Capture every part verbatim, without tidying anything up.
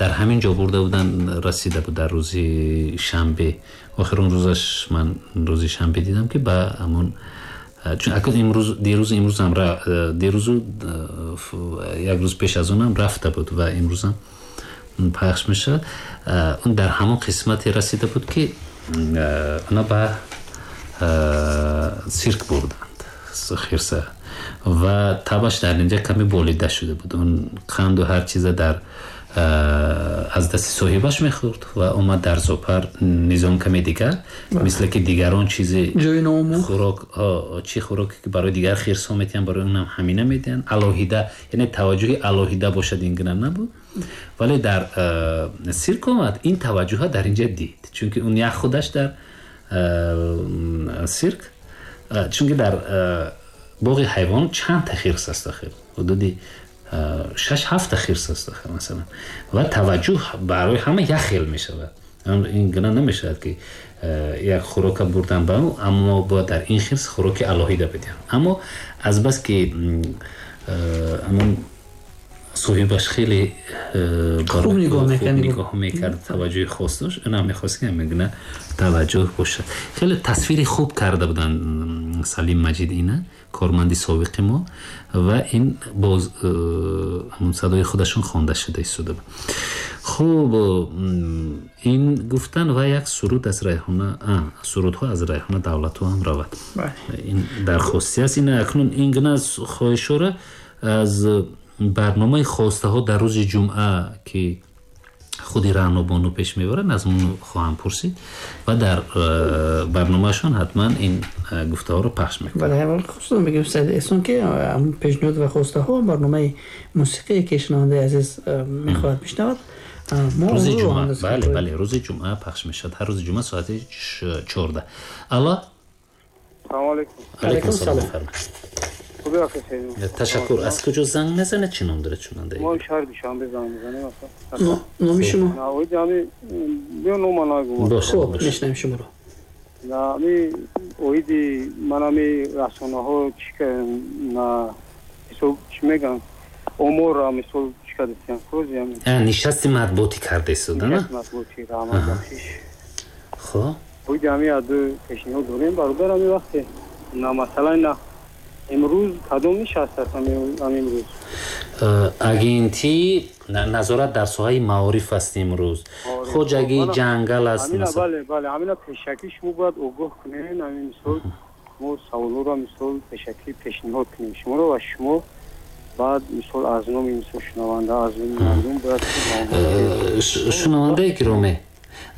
Дар ҳамин ҷо бурда буданд, расида буд дар рӯзи шанбе. Охирон рӯзаш ман рӯзи шанбе дидам, ки ба ҳамон, чун акнун имрӯз, дирӯз, имрӯзам, дирӯзу як рӯз пеш аз онам рафта буд ва имрӯзам пахш мешавад. Он дар ҳамон қисмате расида буд, ки она ба сирк бурданд хирса ва табаш дар инҷа каме болида шуда буд. Он қанду ҳар чиза дар аз дасти соҳибаш мехӯрд ва омад дар зоопарк низом каме дигар, мисле ки дигарон чизи хӯрок, чӣ хӯроке ки барои дигар хирсҳо метиҳанд, барои онам ҳамина медиҳанд алоҳида, яъне таваҷҷӯҳи алоҳида бошад, ин гуна набуд. Вале дар сирк омад, ин таваҷҷӯҳа дар инҷа дид, чунки он як худаш дар сирк, чунки дар боғи ҳайвон чанд та хирс аст охир, ҳудуди шаш ҳафт хирс аст охир масалан, ва таваҷҷӯҳ барои ҳама як хел мешавад. Ин гуна намешавад, ки як хӯрока бурдан ба ӯ, аммо бояд дар ин хирс хӯроки алоҳида бидиҳанд. Аммо азбаски ҳамон соҳибаш хеле хуб нигоҳ мекард, таваҷҷӯҳи хос дошт, онам мехост, ки ҳамин гуна таваҷҷӯҳ бошад. Хеле тасвири хуб карда буданд Салим Маҷид, ина корманди собиқи мо, ва ин боз ҳамон садои худашон хонда шуда истода буд. Хуб, ин гуфтан ва як суруд аз Райҳона, сурудҳо аз Райҳона Давлатова ҳам равад. Ин дархостӣ аст. Ин акнун ин гуна хоҳишҳоро аз барномаи хостаҳо дар рӯзи ҷумъа, ки худи Раънобону пеш мебаранд, аз он хоҳам пурсид ва дар барномаашон ҳатман ин гуфтаҳоро пахш мекунам. Бале, аввал хостам бигӯям, Саид Эҳсон, ки пешниҳод ва хостаҳо, барномаи мусиқие, ки шунавандаи азиз мехоҳад бишнавад, рӯзи ҷумъа, бале, бале, рӯзи ҷумъа пахш мешавад, ҳар рӯзи ҷумъа соати чордаҳ. Алло, салому алейкум. Алейкум салом, фармоед. Ташаккур. Аз куҷо занг мезанед, чӣ ном доред шунавандаи? Мо шаҳри Душанбе занг мезанем. Номи шумо? Биё, нома нагӯ. Хуб, мешнавем шуморо. Ами оиди ман ами расонаҳо чӣ на ҳисоб чӣ мегӯянд, оморра мисол чӣ кардастиям кӯзи? Нишасти матбуотӣ карда истода, на? Матбуотӣ, раҳмат бахшиш. Хуб, оиди ами аду пешниҳод дорем, бародар. Ами вақте на масалан на имрӯз кадом нишаст аст ами имрӯз? Агентӣ назорат дар соҳаи маориф аст имрӯз, хоҷагии ҷангал аст. Бале, бале, ҳамина пешакӣ шумо бояд огоҳ кунед. Ҳамин мисол мо саволҳоро мисол пешакӣ пешниҳод кунем шуморо ва шумо баъд мисол аз номи мисол шунаванда, аз номи мардум бояд. Шунавандаи гиромӣ,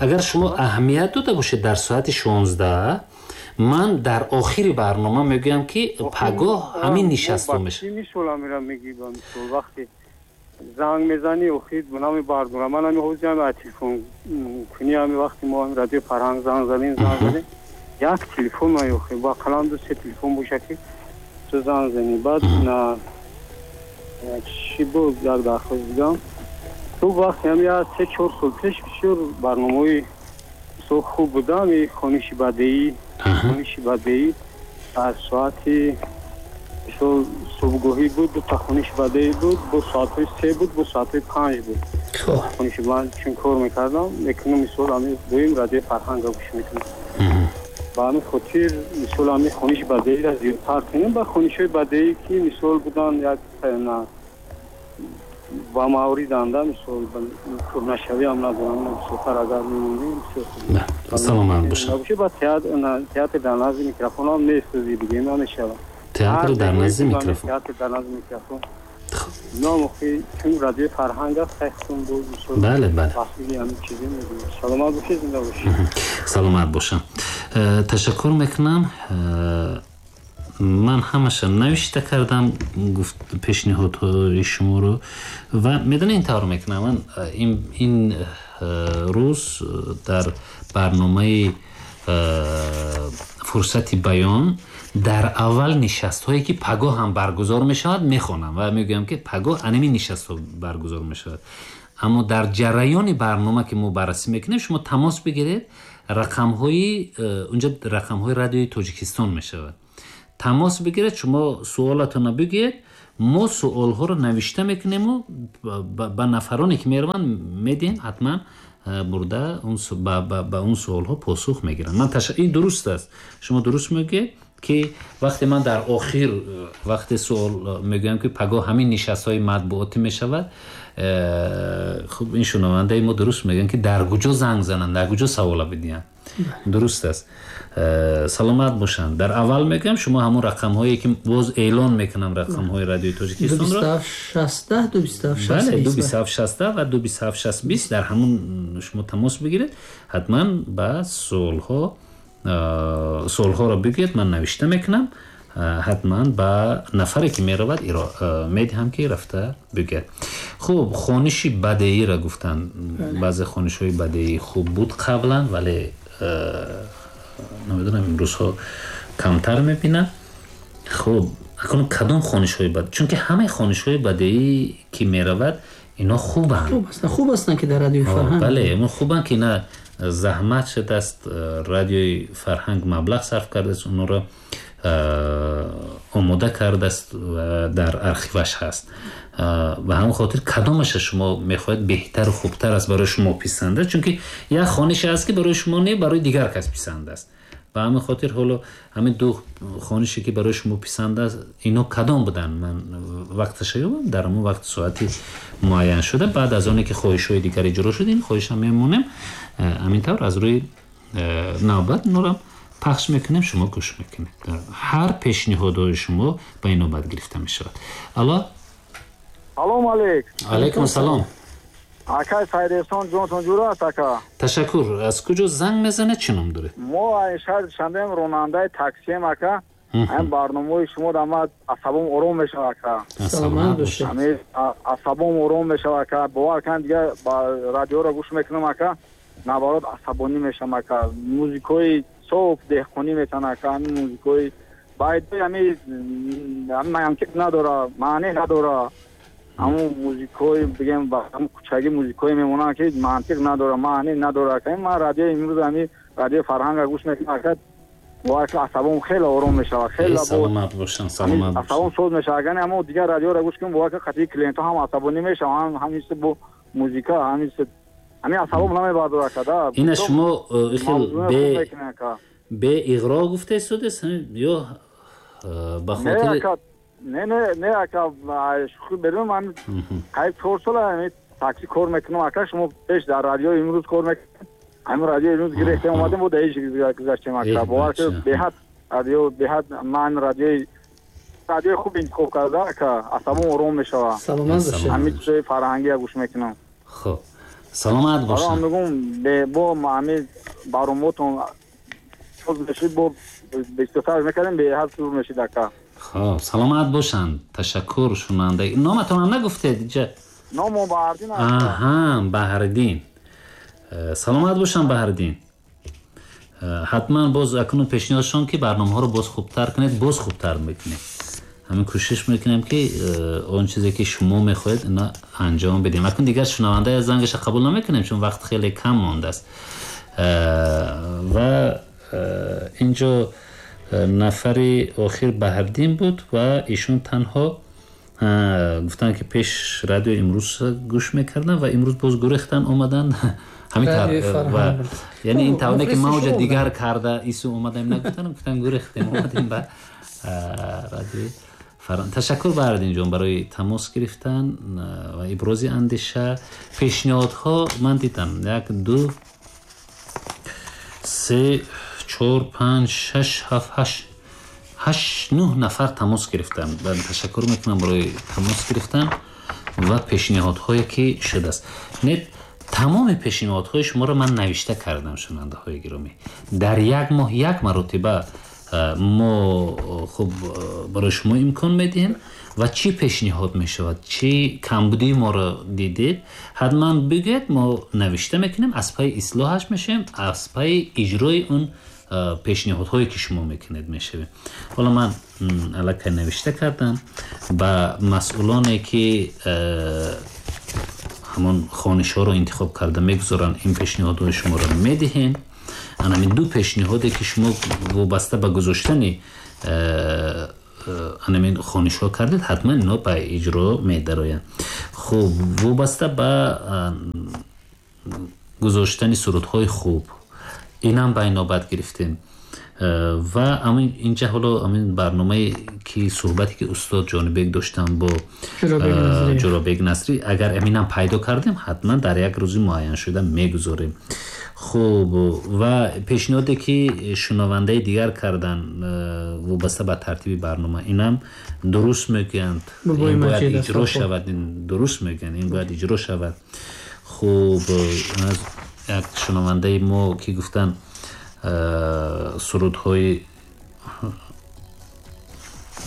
агар шумо аҳамият дода бошед, дар соати шонздаҳ ман дар охири барнома мегӯям, ки пагоҳ ҳамин нишастҳо мешавад. Мисол амира мегӣ, ба мисол вақте занг мезанӣ, охир намебардорам. Ман ҳами ҳозир ҳами телефон кунӣ, ҳами вақти мо ҳами радиои Фарҳанг занг задем, занг задем, як телефон ман охир ба қалам ду се телефон боша, ки ту занг занӣ. Баъд на чӣ буд, як дархост дигам. Ту вақте ҳами як се чор сол пеш бисёр барномаҳои бисёр хуб будам, и хониши бадеӣ, хониши бадеӣ аз соати мисол субҳгоҳӣ буд, дута хониши бадеӣ буд, бо соатҳои се буд, бо соатҳои панҷ буд. Хониши ман чун кор мекардам, мекунам, мисол ҳами дуюм радиои Фарҳанга гӯш мекунам. Ба ҳамин хотир мисол ҳами хониши бадеиро зиёдтар кунем. Ба хонишҳои бадеӣ, ки мисол будан, як ба мавриданда, мисол пурнашавӣ ҳам надорам, бисёртар агар мемондем, бисёр хуб. Саломат бошад. Ба театр дар назди микрофон ҳам месӯзӣ, бигем намешавад. Театр дар назди микрофон, театр дар назди микрофон ном охи чун радиои Фарҳанг аст, хайхтун буд мисол. Бале, бале, ҳамин чизе мегӯям. Саломат бошед, зинда бошед. Саломат бошам, ташаккур мекунам. Ман ҳамаша навишта кардам гуфт пешниҳодҳои шуморо ва медонед, ин тавр мекунам. Ман ин рӯз дар барномаи фурсати баён дар аввал нишастҳое, ки пагоҳ ҳам баргузор мешавад, мехонам ва мегӯям, ки пагоҳ анами нишастҳо баргузор мешавад. Аммо дар ҷараёни барнома, ки мо баррасӣ мекунем, шумо тамос бигиред, рақамҳои унҷа рақамҳои радиои Тоҷикистон мешавад, тамос бигиред, шумо суолатонро бигӯед, Мо суолҳоро навишта мекунему, ба нафароне ки мераванд медиҳем, ҳатман бурда ба он суолҳо посух мегиранд. Ман ин дуруст аст, шумо дуруст мегӯед ки вақте ман дар охир вақте суол мегӯям ки пагоҳ ҳамин нишастҳои матбуотӣ мешавад, хуб ин шунавандаи мо дуруст мегӯянд ки дар куҷо занг зананд, дар куҷо савола бидиҳанд. Дуруст аст, саломат бошанд. Дар аввал мегӯям шумо ҳамон рақамҳое ки боз эълон мекунам, рақамҳои радиои Тоҷикистонро ду бист ҳафт шаст, бале, ду бист ҳафт шаст ва ду бист ҳафт шаст бист, дар ҳамон шумо тамос бигиред, ҳатман ба суолҳо суолҳоро бигӯед, ман навишта мекунам, ҳатман ба нафаре ки меравад медиҳам ки рафта бигӯяд. Хуб, хониши бадеиро гуфтанд. Баъзе хонишҳои бадеӣ хуб буд қаблан, вале намедонам имрӯзҳо камтар мебинам. Хуб, акнун кадом хонишҳои бад, чунки ҳамаи хонишҳои бадеӣ ки меравад ино хубанд. Хуб ҳастанд, хуб ҳастанд ки дар радиои фарҳанг. Бале, ино хубанд ки на заҳмат шудааст, радиои фарҳанг маблағ сарф кардааст, онҳоро омода кардааст ва дар архиваш ҳаст. Ба ҳамон хотир кадомаша шумо мехоҳед беҳтару хубтар аст барои шумо писанд аст, чунки як хонише аст ки барои шумо не, барои дигар кас писанд аст. Ба ҳамин хотир ҳоло ҳамин ду хонише ки барои шумо писанд аст, ино кадом буданд? Ман вақташа ёбам, дар ҳамон вақт соати муайян шуда, баъд аз оне ки хоҳишҳои дигар иҷро шуд, ин хоҳишам мемонем. Ҳамин тавр аз рӯи навбат инорам пахш мекунем, шумо гӯш мекунед. Ҳар пешниҳодҳои шумо ба ин навбат гирифта мешавад. Алло, салом алейк. Алейкум салом. Акай Сайдесон, ҷонтон ҷур аст ака? Ташаккур. Аз куҷо занг мезанед, чӣ ном доред? Мо аз шаҳри Душанбеем, ронандаи таксием ака. Ҳамин барномаҳои шумо дар ман асабом ором мешавад ака. Саломат бошед. Ҳамин асабом ором мешавад ака. Бовар кунед, дигар ба радиоро гӯш мекунам ака, наоборот асабонӣ мешавам ака. Музикои соф деҳқонӣ метан ака, ҳамин музикои байд ҳамин мантиқ надора, маъне надора. Ҳамон музикои бигем ба ҳамон кӯчагӣ музикое мемонанд ки мантиқ надора, маъне надора ака. Ман радиои имрӯз ҳамин радиои фарҳанга гӯш мекунам ака, бовар кунед асабом хеле ором мешавад, хеле саломат бошанд, саломат бошанд. Асабом соз мешавад. Агар ҳамон дигар радиоро гӯш кунем, бовар кунед қатъи клиентҳо ҳам асабонӣ мешаванд, ҳам ҳамин бо музика, ҳамин ҳамин асабом намебардорад ака. Да ина шумо хел бе бе иғро гуфтаистодед ё ба хотири не не не ака, шӯхӣ берун, ман қариб чор сол ҳамин такси кор мекунам ака. Шумо пеш дар радиои имрӯз кор мекунед, ҳамин радиои имрӯз гирифтем омадем, бо даҳиш гузаштем ака. Бовар кунед, беҳад радио, беҳад ман радиои радиои хуб интихоб карда ака, асабом ором мешавад. Саломат бошед. Ҳамин чизҳои фарҳангия гӯш мекунам. Хуб, саломат бошед. Ман мегӯям бо ҳамин барномаотон соз мешид, бо бештар мекардем, беҳад сур мешид ака. Хуб, саломат бошанд. Ташаккур шунанда. Номатонам нагуфтед инҷа? Номо Баҳриддин аст. Аҳа, Баҳриддин. Саломат бошанд Баҳриддин. Ҳатман боз акнун пешниҳодшон ки барномаҳоро боз хубтар кунед, боз хубтар мекунед. ҳамин кӯшиш мекунем ки он чизе ки шумо мехоҳед ина анҷом бидем. Акнун дигар шунаванда зангаша қабул намекунем, чун вақт хеле кам мондааст. Ва инҷо нафари охир Баҳриддин буд ва ишон танҳо гуфтанд ки пеш радио имрӯз гӯш мекарданд ва имрӯз боз гурехтан омаданд. ҳамин тавр ва яъне ин тавне ки мавҷа дигар карда ису омадаем нагуфтанд, гуфтанд гурехтем омадем ба радиои фарҳанг. Ташаккур Баҳриддин ҷон барои тамос гирифтан ва ибрози андеша. Пешниҳодҳо ман дидам як, ду, се, чор, панҷ, шаш, ҳафт, ҳашт, ҳашт, нӯҳ нафар тамос гирифтанд. Ман ташаккур мекунам барои тамос гирифтан ва пешниҳодҳое ки шудааст. Не, тамоми пешниҳодҳои шуморо ман навишта кардам, шунавандаҳои гиромӣ. Дар як моҳ як маротиба мо хуб барои шумо имкон медиҳем ва чӣ пешниҳод мешавад, чӣ камбудии моро дидед, ҳатман бигӯед, мо навишта мекунем, аз пайи ислоҳаш мешавем, аз пайи иҷрои он пешниҳодҳое ки шумо мекунед мешавем. Ҳоло ман аллакай навишта кардам ба масъулоне ки ҳамон хонишҳоро интихоб карда мегузоранд, ин пешниҳодҳои шуморо медиҳем. Ана ҳамин ду пешниҳоде ки шумо вобаста ба гузоштани ҳамин хонишҳо кардед, ҳатман инҳо ба иҷро медароянд. Хуб, вобаста ба гузоштани сурудҳои хуб, инам ба инобат гирифтем. Ва ҳамин инҷа ҳоло ҳамин барномае ки суҳбате ки устод Ҷонибек доштам бо Ҷӯрабек Насрӣ, агар ҳаминам пайдо кардем, ҳатман дар як рӯзи муайяншуда мегузорем. Хуб, ва пешниҳоде ки шунавандаи дигар кардан вобаста ба тартиби барнома, инам дуруст мегӯянд, ин бояд иҷро шавад, ин дуруст мегӯянд, ин бояд иҷро шавад. Хуб, аз як шунавандаи мо ки гуфтанд сурудҳои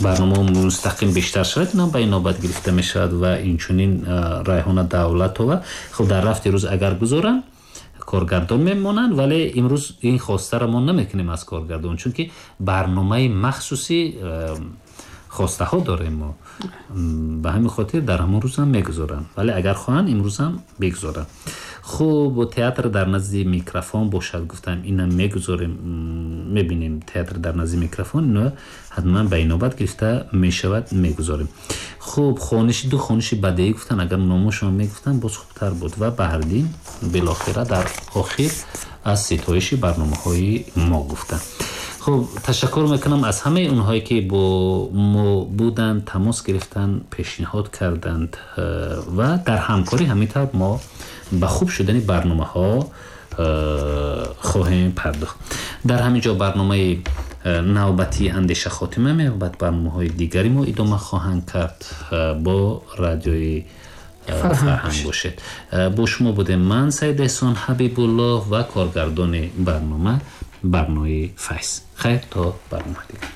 барнома мустақим бештар шавад, инам ба инобат гирифта мешавад. Ва инчунин Райҳона Давлатова, хуб, дар рафти рӯз агар гузоранд, коргардон мемонанд, вале имрӯз ин хостаро мо намекунем аз коргардон, чунки барномаи махсуси хостаҳо дорем мо, ба ҳамин хотир дар ҳамон рӯз ҳам мегузоранд, вале агар хоҳанд имрӯз ҳам бигузоранд. Хуб, театр дар назди микрофон бошад, гуфтам, инам мегузорем, мебинем театр дар назди микрофон, ино ҳатман ба инобат гирифта мешавад, мегузорем. Хуб, хониши ду хониши бадеӣ гуфтан, агар номошон мегуфтан боз хубтар буд. Ва Баҳриддин билохира дар охир аз ситоиши барномаҳои мо гуфтан. Хуб, ташаккур мекунам аз ҳамаи онҳое ки бо мо буданд, тамос гирифтанд, пешниҳод карданд ва дар ҳамкорӣ ҳамин тавр мо ба хуб шудани барномаҳо хоҳем пардохт. Дар ҳамин ҷо барномаи навбатии андеша хотима меёбад. Барномаҳои дигари мо идома хоҳанд кард бо радиои фарҳанг бошед. Бо шумо будем ман, Саид Эҳсон Ҳабибуллоҳ, ва коргардони барнома Барнои Файз. Хайр, то барнома дигар.